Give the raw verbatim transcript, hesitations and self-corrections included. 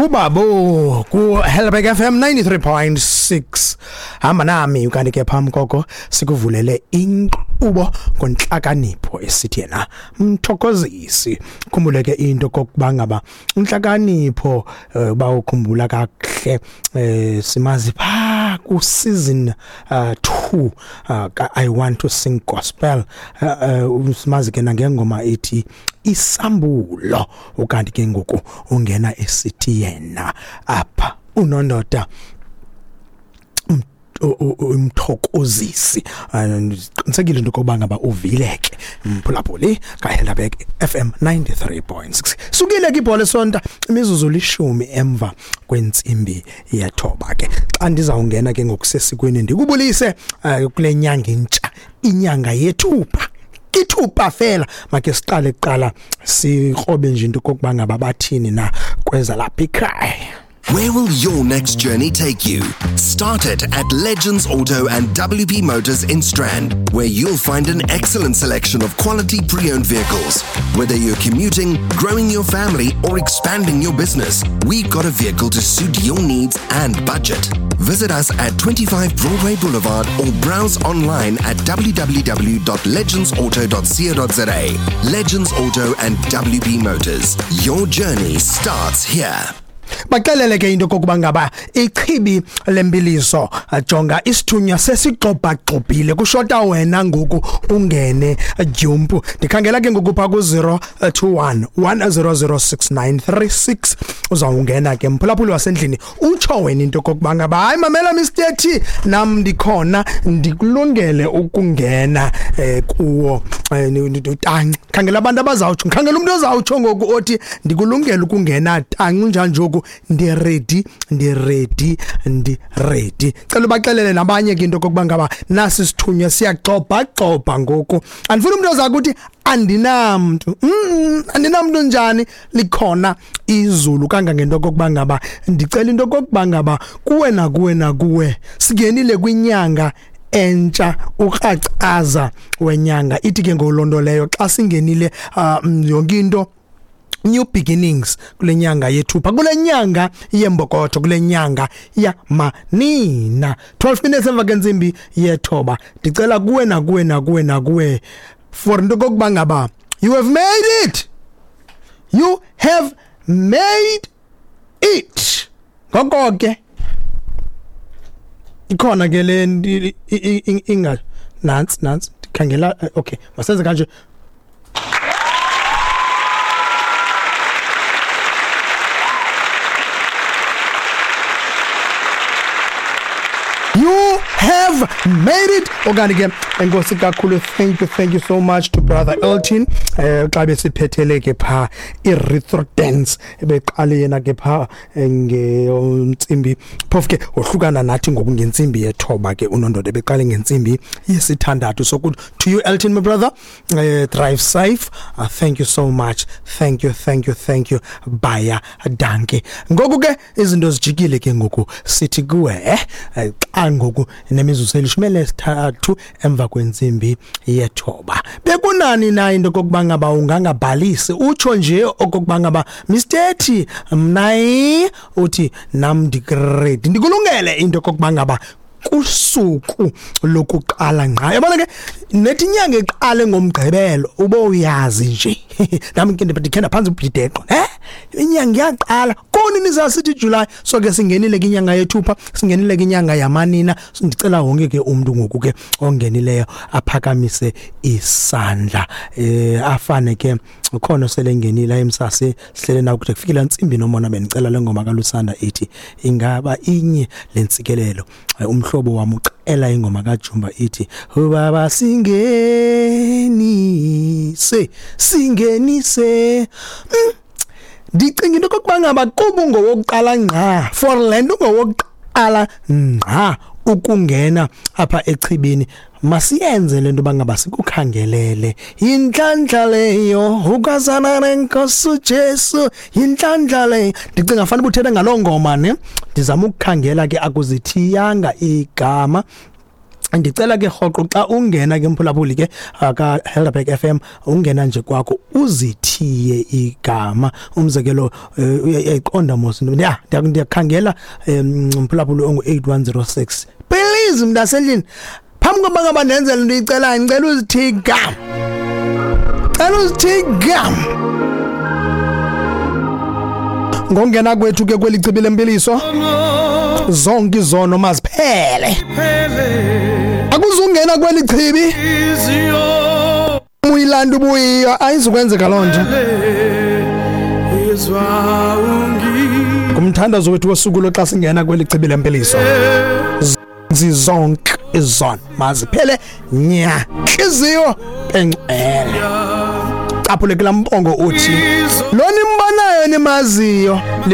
Ngubabo ku Helberg F M ninety-three point six. Hamba nami ukanti ke phambi koko sikuvulele inkqubo ngonhlakanipho esithi yena Mthokozisi. Khumbuleke into kokuba ngaba inhlakanipho uba ukhumbula kakuhle simazi pha ku season two I Want to Sing Gospel, simazi ke nangengoma ethi Isambulo. Ukanti ke ngoku ungena esithi yena apha unondoda uMthokozisi. Ndiqinisekile into yokuba ngaba uvileke mphulaphuli kaHelderberg F M ninety-three point six. Sukile ke ibhola esonta imizuzu lishumi emva kwentsimbi yethoba ke. Xa ndizawungena ke ngokusesikweni ndikubulise kule nyanga intsha, inyanga yethupha. Kithupha fela make siqale kuqala sikrobe nje into kokuba ngaba bathini na kweza lapha ekhaya. Where will your next journey take you? Start it at Legends Auto and W P Motors in Strand, where you'll find an excellent selection of quality pre-owned vehicles. Whether you're commuting, growing your family, or expanding your business, we've got a vehicle to suit your needs and budget. Visit us at twenty-five Broadway Boulevard or browse online at w w w dot legends auto dot co dot z a. Legends Auto and W P Motors. Your journey starts here. Baxelele ke into kokuba ngaba ichibi lembiliso jonga isithunywa sesigxobhagxobhile kushota wena ngoku ungene jump. Ndikhangela ke ngoku pha ku zero two one one zero zero six nine three six uzawungena ke mphulaphuli wasendlini utsho wena into kokuba ngaba hayi mamela Mister T nam ndikhona ndikulungele ukungena eh, kuwo tanci. Khangela abantu abazawutsho, khangela umuntu ozawutsho ngoku othi ndikulungele ukungena tanci njani njoku ndi ready ndi ready ndi ready. Cela ubaxelele nabanye ke into kokuba ngaba nasi sithunywa siyagxobha gxobha ngoku. Andifuni umuntu ozakuthi andinamntu mm andinamntu njani, likhona izulu kangangento kokuba ngaba ndicela into kokuba ngaba kuwe nakuwe nakuwe singenile kwinyanga entsha ukracaza wenyanga. Ithi ke ngolonto leyo xa singenile yonke into new beginnings kule nyanga yethupha, kule nyanga yembokotho, kule nyanga yamanina. twelve minutes emva kwentsimbi yethoba. Ndicela kuwe nakuwe nakuwe nakuwe for into kokuba ngaba you have made it, you have made it. Ngoko ke ikhona ke le inga nantsi nantsi ndikhangela. Okay, masenze kanje. You have made it. Okanye ke enkosi kakhulu, thank you thank you so much to brother Elton eh xa besiphethele ke pha i-retro dance ebeqale yena ke pha ngeentsimbi phofu ke ohlukana nathi ngoku ngentsimbi yethoba ke unondoda ebeqale ngentsimbi yesithandathu. So good to you Elton my brother, uh, drive safe. Uh, thank you so much, thank you thank you thank you baya danke. Ngoku ke izinto zijikile ke ngoku sithi kuwe eh xa ngoku nemizuzu elishumi nesithathu emva kwentsimbi yethoba. Bekunani na into kokuba ngaba ungangabhalisi utsho nje okokuba ngaba Mister T mna uthi nam ndigrade ndikulungele into kokuba ngaba kusuku lokuqala ngqa. Yabona ke nethi inyanga iqale ngomgqibelo ube uyazi nje nami ke ndikhe ndaphansi ubhideqo eh inyanga iyaqala koni nizasithi July. So ke singenile ke inyanga yethupha, singenile ke inyanga yamanina. Ndicela wonke ke umuntu ngoku ke ongenileyo aphakamise isandla eh afane ke ukhona selengenile emsase sihlele na ukuthi kufikile intsimbi nomona. Bendicela lengoma kaLusanda ithi ingaba inye lentsikelelo. Umhlobo wami ucela ingoma kaJumba ithi ubaba singenise singenise. Ndicinga into kokuba ngaba kuba ungowokuqala ngqa for le nto ungowokuqala ngqa ukungena apha echibini, masiyenze le nto bangaba sikukhangelele. Yinhlanhla leyo ukazana nenkosi uJesu, yinhlanhla leyo. Ndicinga fanele ubuthethe ngaloo ngoma ne. Ndizama ukukhangela ke akuzithiyanga igama. Ndicela ke rhoqo xa ungena ke mphulaphuli ke ka Helderberg F M, ungena nje kwakho uzithiye igama. Umzekelo, uyayiqonda mos, ya ndiyakhangela mphulaphuli ongu eight one zero six. Please mntasendlini, phambi kokuba ngaba ndenzele into uyicelayo, ndicela uzithiye igama, cela uzithiye igama. Ngongena kwethu ke kweli chibi lempiliso, zonke izono maziphele. Akuzungena kweli chibi uyilanda ubuyiyo, ayizukwenzeka loo nto. Ngumthandazo wethu wosuku lo xa singena kweli chibi lempiliso, zonke izono maziphele nya, intliziyo engcwele. Caphule kulaa mbongo uthi lo nimbonayo nimaziyo.